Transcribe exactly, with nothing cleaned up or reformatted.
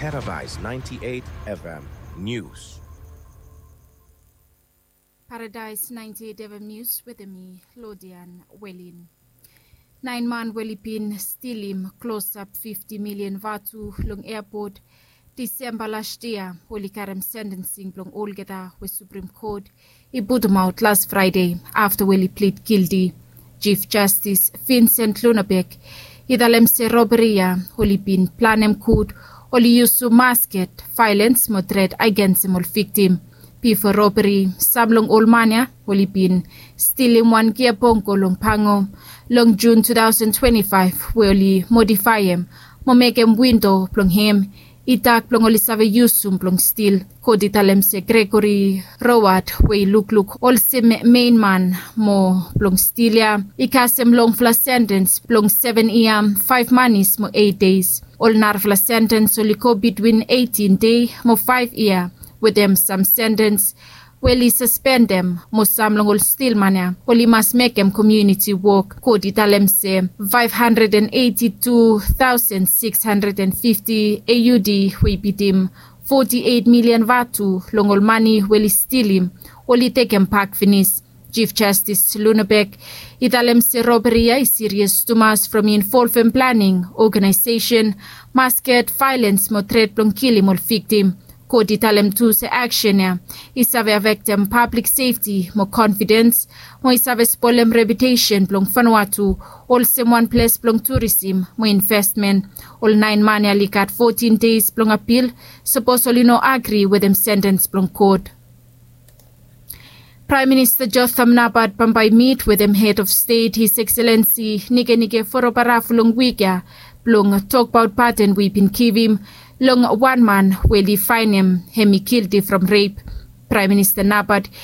Paradise ninety-eight F M News. Paradise ninety-eight F M News wetem mi, Lodian Welin. Naen man we oli bin stilim klosap fifti milian vatu long eapot Disemba las yia, oli karem sentening blong olgeta we Supreme Court i putumaot las Fraede afta we oli plid gilti. Chief Justice Vincent Lunabek i talem se roberi ya oli bin planem gud, oli yusum masket, vaelens mo tret agensem ol viktim. Bifo roberi, sam long ol man ya oli bin stilim wan gia bongo long Pango long Jun tu taosen twenti faef, we oli modifaem mo mekem windo blong hem i dak blong oli save yusum blong stil. Kot i talem se Gregory Roward, we i lukluk olsem mein man mo blong stil ya, i kasem longfala sentens blong seven yia, faef manis mo eit deis. Ol narafala sentens oli go bitwin eitin dei mo faef yia, wetem sam sentens we oli saspendem, mo sam long ol stil man ya oli mas mekem komuniti wok. Kot i talem se faef handred and eiti tu taosen sikis handred and fifti A U D we i bitim foti eit milian vatu long ol mane we oli stilim, oli tekem bak finis. Chief Justice Lunabek i talem se roberi ya i sirias tumas from i involvem planing, ogenaesesen, masket, vaelens mo tret blong kilim ol viktim. Kot i talem tu se aksen ya i save afektem pablik sefti mo konfidens, mo i save spolem reputesen blong Vanuatu olsem wan ples blong turisim mo investmen. Ol naen man ya oli gat fotin deis blong apil sapos oli no agri wetem sentens blong kot. Praem Minista Jotham Napat bambae i mit wetem hed of stet, His Excellency Nikenike Vurobaravu, long wik ya blong tokbaot paden we i bin givim long wan man we oli faenem hem i gilti from rep. Praem Minista Napat